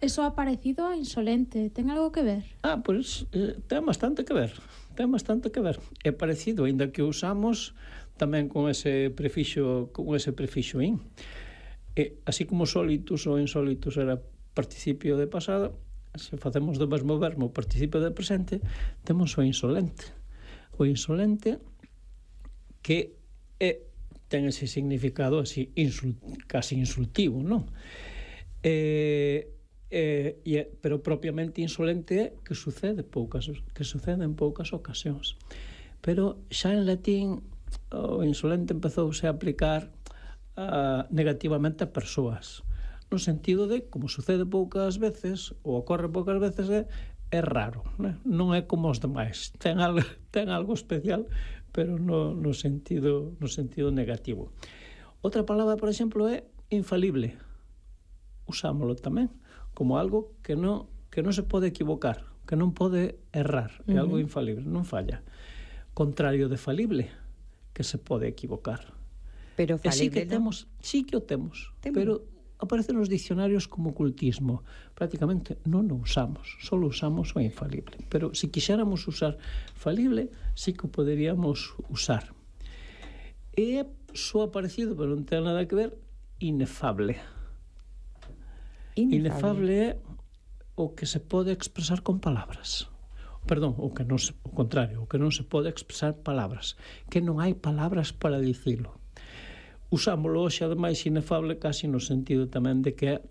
Eso ha parecido a insolente, ten algo que ver? Pois ten bastante que ver. É parecido, aínda que usamos tamén con ese prefixo in. Así como sólitus ou insólitus era participio de pasado, se facemos do mesmo verbo participio de presente, temos o insolente. O insolente que ten ese significado así casi insultivo, non? Pero propiamente insolente é que sucede en poucas ocasións. Pero xa en latín o insolente empezouse a aplicar negativamente a persoas, no sentido de, como sucede poucas veces ou ocorre poucas veces, é raro, non é como os demais, ten algo especial, pero no sentido negativo. Outra palabra, por exemplo, é infalible. Usámoslo tamén como algo que non se pode equivocar, que non pode errar, é algo infalible, non falla. Contrario de falible, que se pode equivocar. Pero falible sí que o temos, pero aparece nos dicionarios como ocultismo. Prácticamente non o usamos, só usamos o infalible. Pero se quixéramos usar falible, sí que o poderíamos usar. É só aparecido, pero non ten nada que ver, inefable. Inefable é o que se pode expresar con palabras. Perdón, o contrario, o que non se pode expresar palabras, que non hai palabras para dicilo. Usámoslo hoxe, ademais, inefable casi no sentido tamén de que é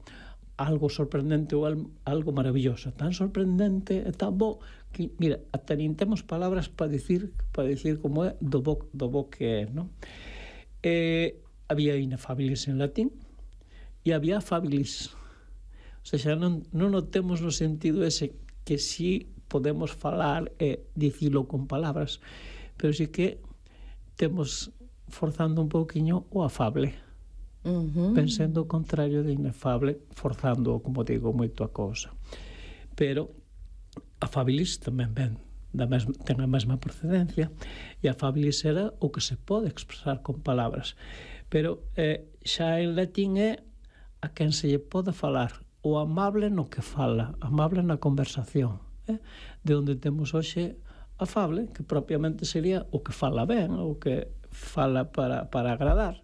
algo sorprendente ou algo maravilloso, tan sorprendente e tan bo que, mira, ata nin temos palabras para dicir como é do bo que é, non? Había inefabilis en latín e había afabilis. O sea, non o temos no sentido ese que sí podemos falar e dicilo con palabras, pero sí que temos forzando un pouquiño o afable, pensando o contrario de inefable, forzando, como digo, moito a cousa. Pero afabilis tamén ten a mesma procedencia, e afabilis era o que se pode expresar con palabras, pero xa en latín é a quen se lle pode falar, o amable no que fala, amable na conversación, de onde temos hoxe afable, que propiamente sería o que fala ben, o que fala para agradar,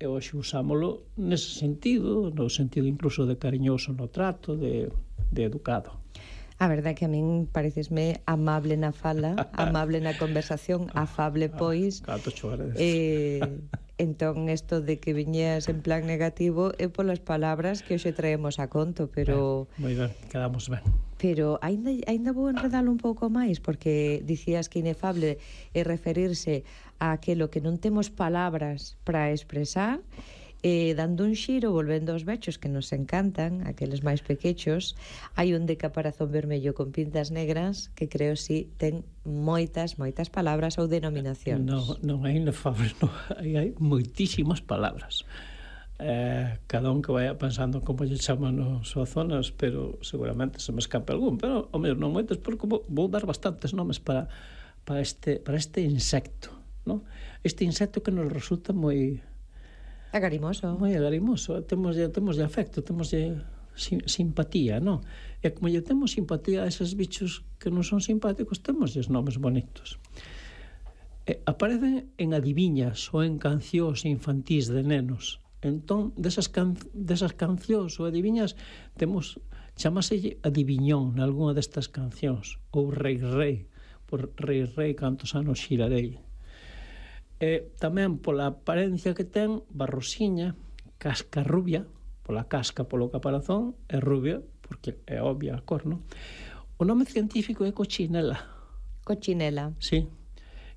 e hoxe usámoslo nese sentido, no sentido incluso de cariñoso no trato, de educado. A verdade que a min parecesme amable na fala, amable na conversación, afable pois. Canto cho agradezo. Entón, isto de que viñeas en plan negativo é polas palabras que hoxe traemos a conto, pero... Moi ben, quedamos ben. Pero ainda vou enredalo un pouco máis, porque dicías que inefable é referirse a aquilo que non temos palabras para expresar, dando un xiro, volvendo aos bechos que nos encantan, aqueles máis pequechos, hai un de caparazón vermello con pintas negras que creo si ten moitas palabras ou denominacións. Non é inefable, hai moitísimas palabras. Cada un que vaya pensando como lle chaman nas súas zonas, pero seguramente se me escape algún, pero ao menos non moitas, porque vou dar bastantes nomes para este insecto, non? Este insecto que nos resulta moi agarimoso. Moi agarimoso, temos afecto, temos simpatía, non? E como lle temos simpatía a eses bichos que non son simpáticos, temos nomes bonitos. Aparecen en adiviñas ou en cancións infantís de nenos. Entón, desas cancións ou adiviñas, chamase adiviñón nalgúna destas cancións, ou rei, por rei cantos anos xirarei. Tamén pola apariencia que ten, barrosiña, casca rubia, pola casca, polo caparazón, é rubia, porque é obvia a cor, non? O nome científico é cochinela. Cochinela? Sí.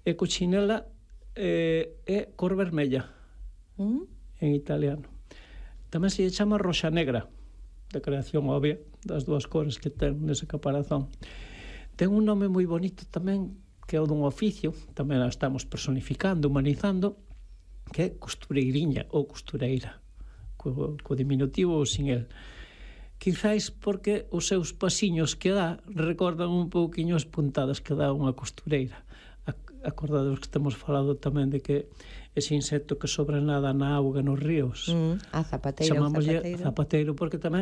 E cochinela é cor vermella, en italiano. Tamén se chama roxa negra, de creación obvia, das dúas cores que ten nese caparazón. Ten un nome moi bonito tamén, que é o dun oficio, tamén a estamos personificando, humanizando, que é costureiriña ou costureira, co diminutivo ou sin el. Quizáis porque os seus pasiños que dá recordan un pouquiño as puntadas que dá unha costureira. Acordades que temos falado tamén de que ese insecto que sobra nada na auga nos ríos. A zapateira, Chamámoslle zapateiro porque tamén